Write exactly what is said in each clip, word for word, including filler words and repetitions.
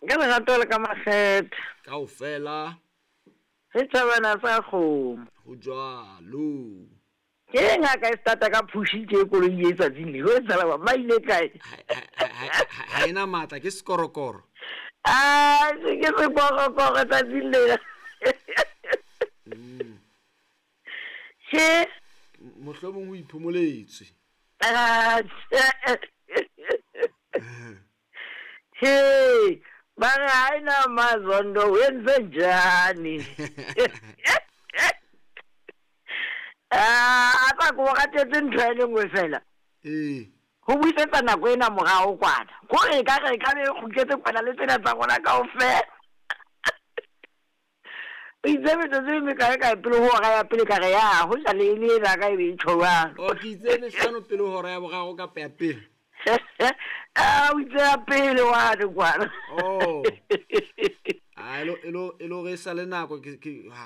Ka lerato le ka makgethe. Kaofela. Re thabana sa kgomo. Ho jwalo. Ke ngaka e stata ka phushi tje koloi e tsatsing le ho etsahala ba ile kae? Ha ena matla ke sekorokoro. Ah, ke sekorokoro tsatsing le. Mm. Che mohlomong o iphomoletswe. Ah. Hey, ba re ha ena mazondo o entse njani? Ah, a tla ko ratetse ntho e le nngwe fela. Ee. Ho buisetsa nako ena morao kwana. Kore ka re ka be kgutletse kwana le tsena tsa rona kaofela. O itse metsotso e mekae kae pele ho hora ya pele ka re ya ho ja le le ena ka e be e tjho jwalo. O ke itse mehlano pele ho hora ya boraro kapa ya pele. Ah, o itse ya pele wane kwana. Oh. Ah, elo elo elo re sa le nako ke ke ha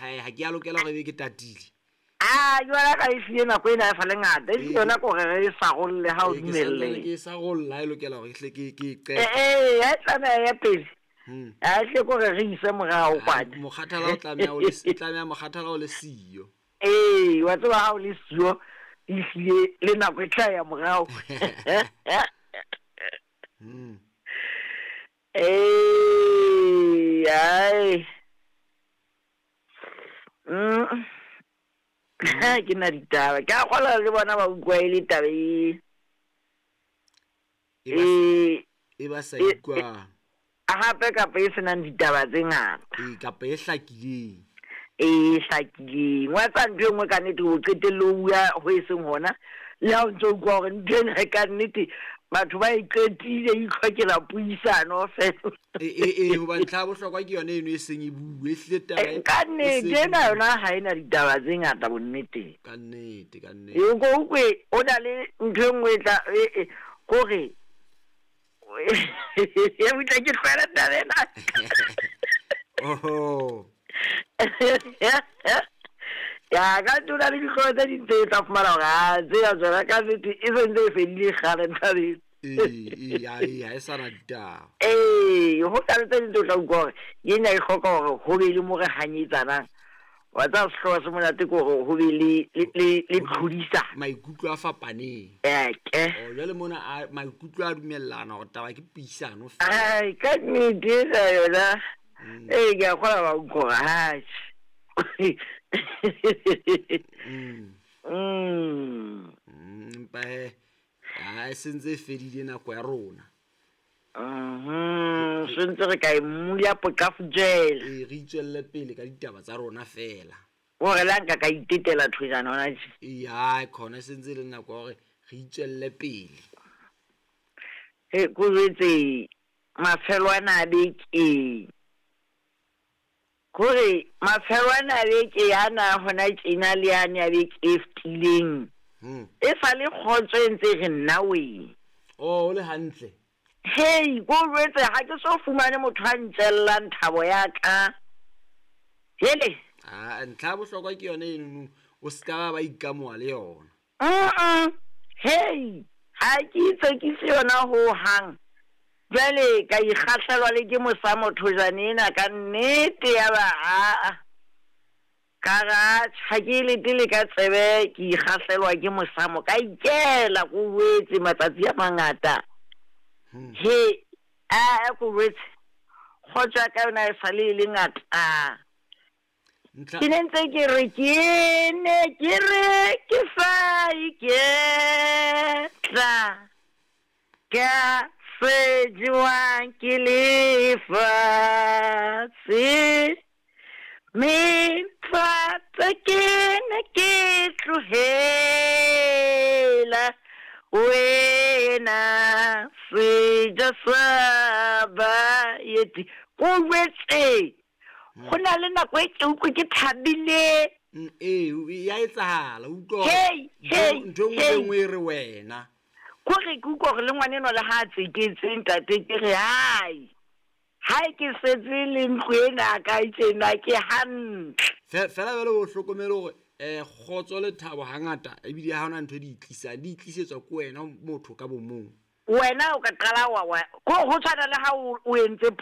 ha ke a lokela hore ebe ke tatile. Ah, jwale ka e siye nako ena e sa le ngata. E yona ko re re sa rolle ha o Ee, ke dumelle. santsane ke sa rolla e lokela hore ke hle ke ke e Eh qete. eh, ya tlameha ya pele. Hmm. A hle ko re re ise morao Ah, kwana. mokgathala o tlameha o le tlameha mokgathala o le siyo. Ee, wa tseba ha o le siyo, ehlile le nako e tla ya morao. Hmm. Ee, ai. Mm. Ke na ditaba. Ke a kgolwa le bona ba utlwa e le taba e E ba e e ba sa e- utlwang. hape kapa e senang ditaba tse ngata. Ee, kapa e hlakileng. E hlakileng. Wa tseba ntho e nngwe ka nnete o qetelle o bua ho e seng hona. Le ha o ntso utlwa hore ntho ena ka nnete batho ba e qetile e itlhokela puisano fela. E e e hoba ntlha ya bohlokwa ke yona eno e seng e bue e hlile taba e- Ka e nnete seng e ena bue. yona ha ena ditaba tse ngata bonneteng. Ka nnete, ka nnete. E o ko utlwe o na le ntho e nngwe e tla e e kore e utlwa ke tlohela taba ena. Oho. Ya ka ntho na le dihlooho tse ding tse tla fumana hore ah tsena tsona ka nnete e sentse e fedile kgale taba ena. Ee, ee, ha e ha e sa na ditaba. Ee, ho na le tse ding tse o tla utlwa hore ena e hloka hore ho be le mo re hanyetsanang. Wa tseba sehlooho se monate ke hore ho be le le le le tlhodisano. Maikutlo a fapaneng. Eke. Oh, jwale mona a maikutlo a dumellana hore taba ke puisano fela. Ai, ka nnete ena yona. Mm. Ee, ke a kgolwa ba utlwa hore atjhe. Mm. Mm. Mm, empa he ha e sentse e fedile nako ya rona. Mhm, sentse re ka e mmula poqafujela. Ee, re itswelle pele ka ditaba tsa rona fela. Hore le ha nka ka itetela thojana hona tje. Ee, hai khona e sentse e le nako ya hore re itswelle pele. He ko jwetse mafelo ana a beke. Kore mafelo ana a beke ana hona tjena le yane ya beke e fetileng. Hmm. E sa le kgotso e ntse re nna wee. Oh, o le hantle. Hei, ko jwetse ha ke so fumane motho a ntjellang thabo ya ka. Hele. Ah, ntlha ya bohlokwa ke yona eno o ska ba ba ikamoha le yona. Mm. Hei, ha ke itsekise yona ho hang. Jwale ka ikgahlelwa le ke mosa mothojane ena ka nnete ya ba a. Ka re atjhe, ha ke letele ka tsebe ke ikgahlelwa ke mosamo ka ikela ko boetse matsatsi a mangata. Hmm. He, a ko boetse kgotso ya ka yona e sale e le ngata. Ntlha Ke ne ntse ke re ke ne ke re ke sa iketla ka se jewang ke lefatshe. Mephatho ke ne ke tlohela wena sejo sa baeti. Ko jwetse ho na le nako e ke utlwe ke thabile. Mm, ee, ya etsahala, o utlwa hore Hei, ntho hei, ntho e nngwe le hei. nngwe e re wena. Kore ke utlwa hore le ngwanenwa le ha a tseketse ntate ke re hai. Ha ke setse le ntlo ena ka tjena ke hantle. Fe- Fela jwale o hlokomele hore eh kgotso le thabo hangata ebile ha hona ntho e di tlisang, di tlisetswa ke wena motho ka bo mong. Wena o ka qala wa wa ko ho tshwana le ha o o entse